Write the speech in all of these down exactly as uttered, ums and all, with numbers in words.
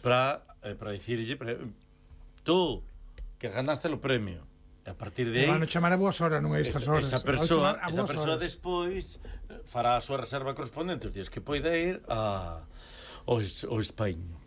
para eh, para dicirlle para, tú que ganaste o premio. E a partir de aí van a chamar a boas horas, non a estas horas. Esa persoa, esa persoa despois fará a súa reserva correspondente os días que poida ir a ao, ao Españo.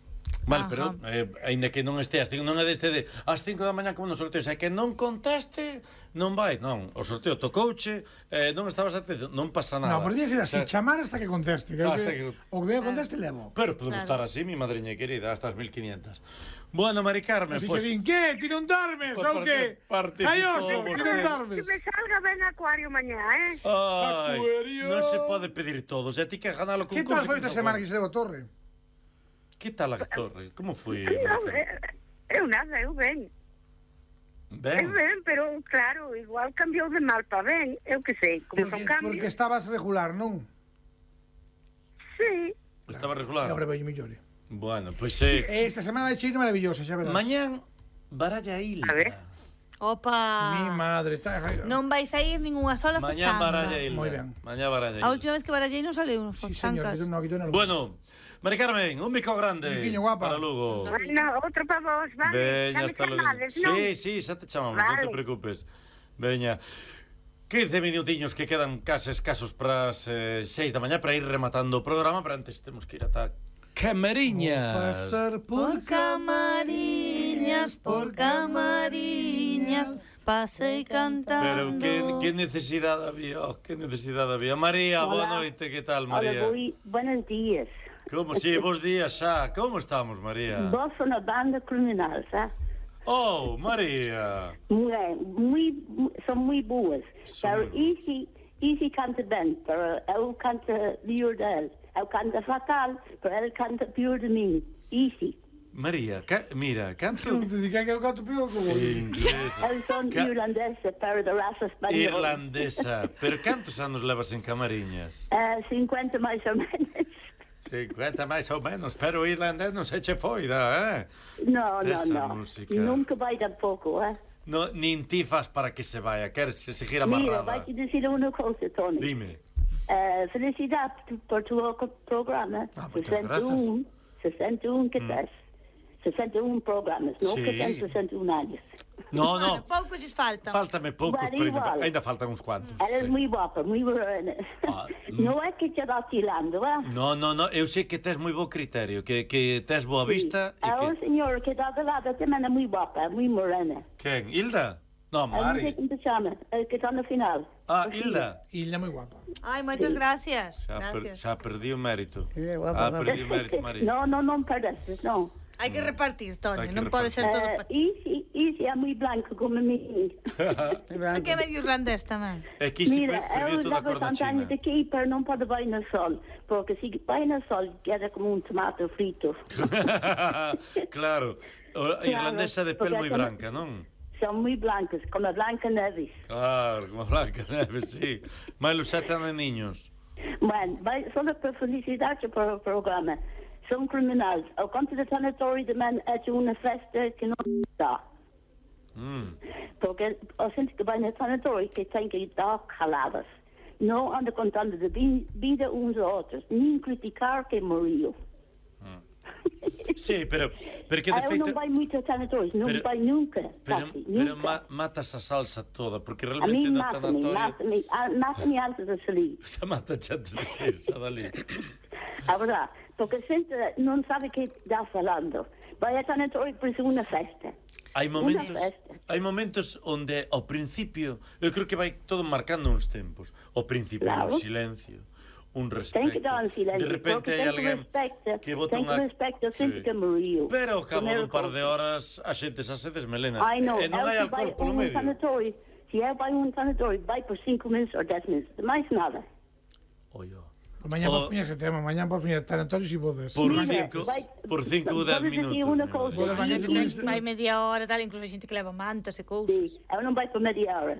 Vale, ajá. Pero eh, ainda que non esteas, non é deste de ás cinco da mañá como no sorteo, é que non contaste, non vai, non, o sorteo tocouche, eh, non estabas atento, non pasa nada. Non, podría ser así, o sea, chamar hasta que conteste, que, hasta que, que... o que venga conteste levo. Pero podemos claro. estar así, mi madriña querida, hasta as mil quinientas. Bueno, Mari Carmen, así pues... se din, que? Ti non darmes, pues ou que? Caioso, ti non darmes. Que me salga ben Acuario mañá, eh? Ai, Acuario. Non se pode pedir todos, e ti que ganalo con... Que tal foi esta semana que se levou a Torre? Que tal a Torre? Como foi? Non, eu nada, eu ben. Ben? Eu ben, pero claro, igual cambiou de mal para ben, eu que sei, como porque, son cambios. Porque estabas regular, non? Sí. Estaba regular? E agora veño mellor. Bueno, pois pues, eh... Esta semana de Chino maravillosa, xa verás. Mañán, baralla Hilda. A ver. Opa. Mi madre, tá... Non vais a ir ningunha sola fachanga. Mañán baralla Hilda. Moi ben. Mañán baralla Hilda. A última vez que barallei non saleu uns sí, señor, fachancas. no, no, bueno, Mari Carmen, un bico grande. Biquiño guapa. Para Lugo. Bueno, outro para vos, vale? Veña, hasta logo. Sí, sí, xa te chamamos, vale. Non te preocupes. Veña. quince minutiños que quedan case escasos para as eh, seis da mañá para ir rematando o programa, pero antes temos que ir ata Camariñas. Vou pasar por, por Camariñas, por Camariñas, pasei cantando. Pero que, que necesidade había, oh, que necesidade había. María, boa noite, que tal, María? Hola, moi buenos días. Como, si, sí, bons días xa. Como estamos, María? Vos son a banda criminal, xa? Oh, María. Muy, muy, son moi boas. Son Pero muy... easy, easy canta ben, pero eu canta pior del. Eu canta fatal, pero el canta pior de mí. Easy. María, ca... mira, canto... Non te diga que eu canto pior como... Inglesa. Eu son ca... irlandesa, pero de raza española. Irlandesa. Pero cantos anos levas en Camariñas? Uh, cincuenta máis ou menos. cincuenta máis ou menos, pero o irlandés non se che foida, eh? No, no, no. Música. Nunca vai tampouco, eh? No, nin ti fas para que se vaya, queres seguir Mira, amarrada. vai te decir unha cousa, Tony. Dime. Uh, felicidade por tu programa. Ah, muchas sesenta e um, sesenta e um que mm. tes. sesenta e un programas, non sí. que ten sesenta e un anos. No, no. Bueno, poucos lles faltan. Fáltame poucos, Bueno, pero igual. ainda, ainda faltan uns cuantos. Eres sí. moi guapa, moi morena. Ah, non é que te dá tirando, eh? No, no, no, eu sei que tes moi bo criterio, que, que tes boa vista sí. e que... o señor que dá de lado tamén é moi guapa, moi morena. Quen? Hilda? No, Mari. A non sei como se chama, que está no final. Ah, Hilda. Hilda moi guapa. Ai, moitas sí. gracias. Xa, per, gracias. xa perdí o mérito. Sí, guapa, ah, guapa. perdí o mérito, María. No, no, non perdes, non. Hai que repartir, Toni, que non pode ser todo Uh, para ti. easy, easy é moi blanco como a mí. É que é medio irlandés tamén. É que se Mira, perdiu eu toda a levo cor da tantos anos China. aqui, pero non pode vai no sol, porque se vai no sol queda como un tomate frito. Claro, a irlandesa de pel porque moi son- branca, non? Son moi blancas, como a Blanca Neves. Claro, como Blanca Neves, sí. Mais os sete niños. Bueno, vai solo por felicidade para o programa. Son criminais. Ao conto do sanatório de man é unha festa que non dá. Mm. Porque a gente que vai no sanatório que tem que dar caladas. Não anda contando de vida uns aos outros, nem criticar quem morreu. Mm. Sí, pero, pero que de Eu feito... non vai moito a sanatórios, non pero- vai nunca, Pero, casi, pero nunca. ma, matas a salsa toda, porque A realmente mí no mata-me, tanatorio... mata-me, ah, mata-me antes de salir. Xa mata antes de sair, xa dali. A verdade, porque a gente non sabe que está falando. Vai a sanatório por ser unha festa. Hai momentos, Unha festa. hai momentos onde ao principio, eu creo que vai todo marcando uns tempos. Ao principio Claro. un silencio, un respeto. Ten que dar un silencio, De repente porque hai ten que alguén respecta, que bota ten que unha... respecta a xente Sí. que morreu. Pero ao cabo Primeiro dun par de cousa. horas a xente xa se desmelena. Ai, non, E non hai eu se vai alcohol polo un medio. sanatório, se eu vai un sanatório, vai por cinco minutos ou dez minutos, máis nada. Oio. Mañá O- por fin ese tema, mañá por fin estar Antonio si podes. Por Mira, cinco, vai- por cinco ou dez podes dicir minutos. unha mira, cousa. Podes María. mañá se tens... Vai media hora, tal, incluso hai xente que leva mantas e cousas. Sí, eu non vai por media hora.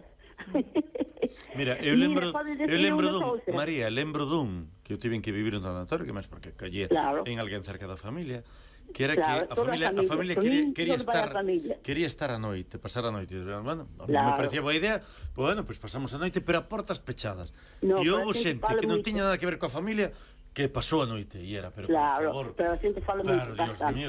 Mira, eu Mira, lembro, podes eu decir lembro unha dun, cousa? María, lembro dun que eu tiven que vivir un tanatorio, que máis porque callé Claro. en alguén cerca da familia, que era Claro, que a toda a familia, a familia, familia por quería, min, quería toda vai a estar familia. quería estar a noite, pasar a noite. Bueno, a mí me Claro. parecía boa idea, pues bueno, pues pasamos a noite, pero a portas pechadas. No, E pero houve a xente xente fala que non moito. tiña nada que ver coa familia que pasou a noite e era, pero por Claro, favor. pero a xente fala moito Claro, Dios bastante. mío,